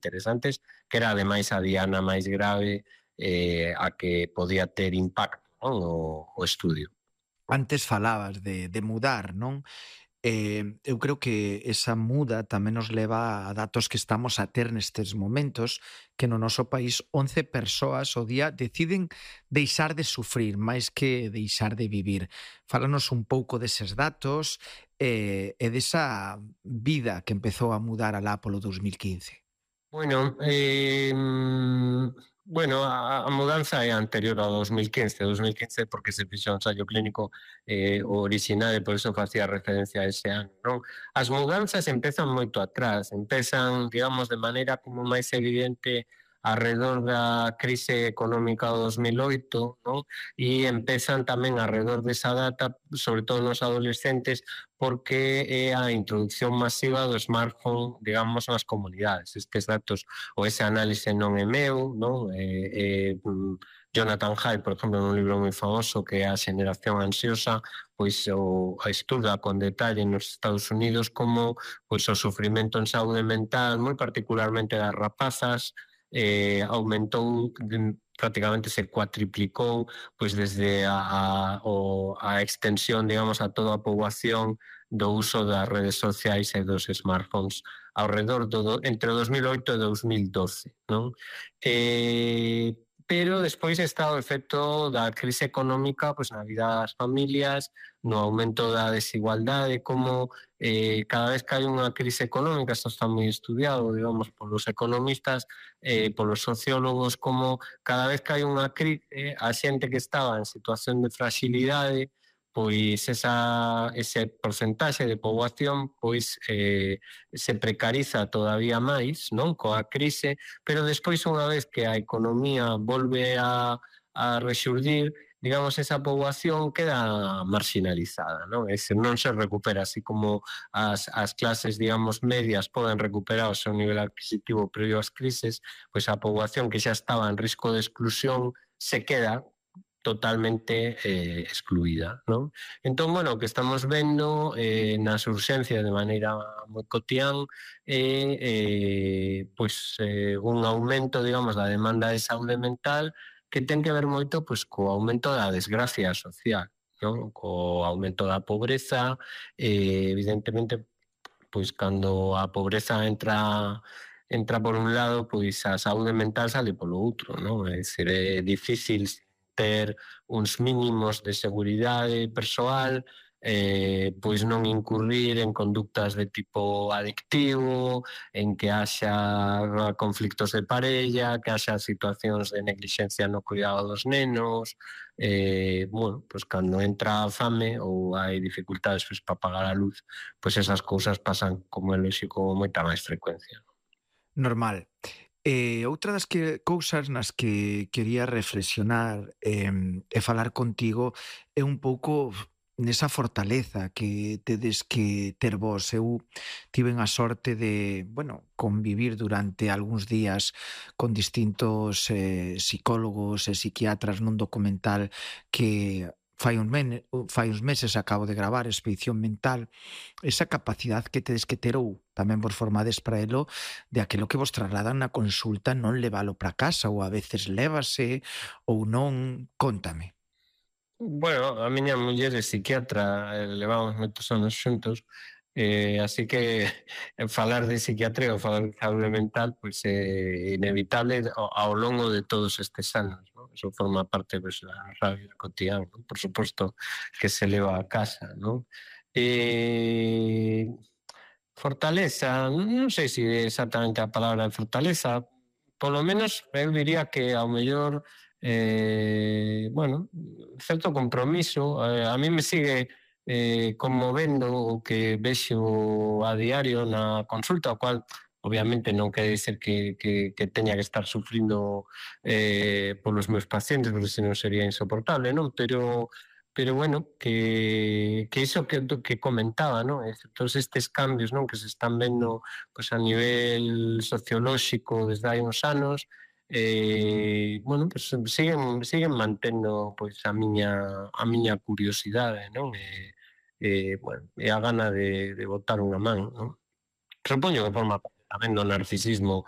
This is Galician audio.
interesantes, que era ademais a diana máis grave a que podía ter impacto, non? O estudio. Antes falabas de mudar, non? Eu creo que esa muda tamén nos leva a datos que estamos a ter nestes momentos, que no noso país 11 persoas ao día deciden deixar de sufrir máis que deixar de vivir. Fálanos un pouco deses datos e desa vida que empezou a mudar alá polo 2015. Bueno, bueno, a mudanza é anterior ao 2015, 2015 porque se fixo un ensaio clínico o orixinal e por eso facía referencia a ese ano, non? As mudanzas empezan moito atrás, empezan, digamos, de maneira como máis evidente arredor da crise económica do 2008, non? E empezan tamén arredor desa data, sobre todo nos adolescentes, porque é a introducción masiva do smartphone, digamos, nas comunidades. Estes datos, ou ese análise non é meu, non? Jonathan Haidt, por exemplo, nun libro moi famoso que é A xeneración ansiosa, pois estuda con detalle nos Estados Unidos como pois, o sufrimento en saúde mental, moi particularmente das rapazas, aumentou prácticamente se cuatriplicou pois desde a extensión, digamos, a toda a poboación do uso das redes sociais e dos smartphones ao redor entre 2008 e 2012, non? Pero despois está o efecto da crise económica pois, na vida das familias, no aumento da desigualdade, como cada vez que hai unha crise económica, isto está moi estudiado, digamos, polos economistas, polos sociólogos, como cada vez que hai unha crise, a xente que estaba en situación de fragilidade, pois ese porcentaxe de poboación pois se precariza todavía máis, non, coa crise, pero despois unha vez que a economía volve a rexurdir, digamos, esa poboación queda marginalizada, non? Non se recupera, así como as clases, digamos, medias poden recuperar o seu nivel adquisitivo previo ás crises, pois a poboación que xa estaba en risco de exclusión se queda totalmente excluída, non? Entón, bueno, o que estamos vendo nas urxencias de maneira moi cotián é un aumento, digamos, da demanda de saúde mental que ten que ver moito pois, co aumento da desgracia social, non? Co aumento da pobreza, evidentemente, pois cando a pobreza entra por un lado, pois a saúde mental sale polo outro, non? É dicir, é difícil ter uns mínimos de seguridade persoal, pois non incurrir en conductas de tipo adictivo, en que haxa conflictos de parella, que haxa situacións de neglixencia no cuidado dos nenos, bueno, pois cando entra a fame ou hai dificultades pois, para pagar a luz, pois esas cousas pasan, como é lóxico, con moita máis frecuencia. Normal. Outra das cousas nas que quería reflexionar e falar contigo é un pouco nesa fortaleza que tedes que ter vos. Eu tiven a sorte de, bueno, convivir durante algúns días con distintos psicólogos e psiquiatras nun documental que fai uns meses acabo de gravar, Expedición Mental, esa capacidade que tedes que ter ou tamén vos formades para elo de aquilo que vos trasladan na consulta non levalo para casa ou a veces lévase ou non, cóntame. Bueno, a miña muller é psiquiatra, levamos moitos anos xuntos, así que falar de psiquiatría ou falar de saúde mental pois é inevitable ao longo de todos estes anos, non? Eso forma parte pois, da vida cotidiana, non? Por suposto que se leva a casa, non? Fortaleza, non sei se é exactamente a palabra de fortaleza, polo menos eu diría que ao mellor bueno, certo compromiso, a mí me sigue conmovendo o que vexo a diario na consulta, o cual obviamente non quere dizer que teña que estar sufrindo polos meus pacientes, porque senón sería insoportable, non? Pero bueno, que iso que comentaba, non? Todos estes cambios, non, que se están vendo pues, a nivel sociolóxico desde hai uns anos, bueno, pues, siguen mantendo pois, a miña curiosidade, non? Bueno, e a gana de botar unha man, non? Supoño que forma parte. tamén do narcisismo